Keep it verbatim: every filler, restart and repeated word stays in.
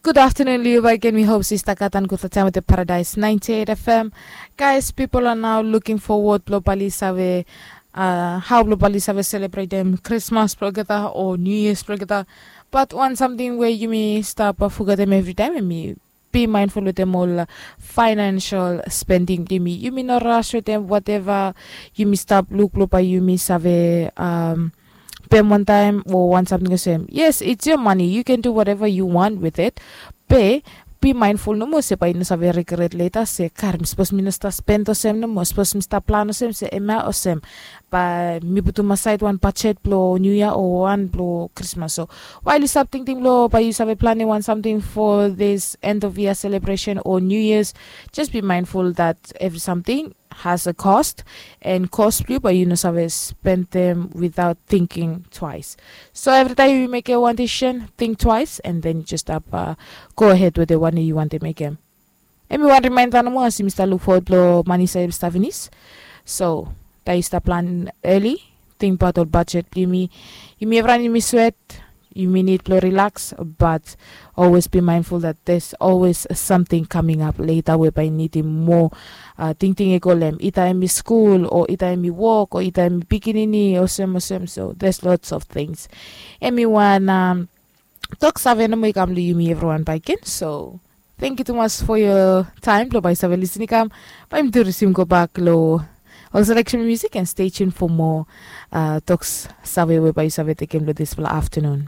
Gud aftenun, liu baik gen. Mi hop se yu stap gat wan gudfala taem wetem Paradise ninety eight F M. Guys, pipol are now looking forward blong bae oli save, uh, hao blong bae oli save selebretem Krismas blong olgeta o New Year's blong olgeta. Bat wan samting we yumi stap, uh, fogetem evritaem, hemi be mindful wetem ol, uh, financial spending blong yumi. Yumi no ras wetem whatever yumi stap luk blong bae yumi save, um, pem wantaem o wan samting olsem. Yes, it's your money, you can do whatever you want with it. Be, be mindful nomo se bae yu no save regret leta se, "Kar, mi sapos mi no stap spend olsem nomo, sapos mi stap plan olsem se, hemia olsem." Bae mi putum asaed wan bajet blong New Year o wan blong Krismas. So wael yu stap tingting blong bae yu save planem wan samting for this end of year celebration o New Year's, just be mindful that evri samting has a cost, and cost blong yu bae yu no save spendem without thinking twice. So evritaem yu mekem wan decision, think twice, and then yu just stap, uh, go ahead wetem wanem yu wantem mekem. Hemi wan remaenda nomo, as yumi stap luk fowod blong mani save stap finis. So taem yu stap plan early, tingbaot ol bajet blong yumi. Yumi evriwan yumi swet, yumi nid blong rilaks, bat always be mindful that there's always something coming up later we bae yu nidim moa, uh, tingting i go long hem. Ida hemi skul, o ida hemi wok, o ida hemi pikinini, olsem olsem. So there's lots of things. Hemi wan, um, tok save nomo i kam long yumi evriwan baik gen. So thank you tumas for your time blong bae yu save lisin i kam. Bae yumi tu risim gobak long ol selection music, and stay tuned for more, uh, tok save we bae yu save tekem long disfala aftenun.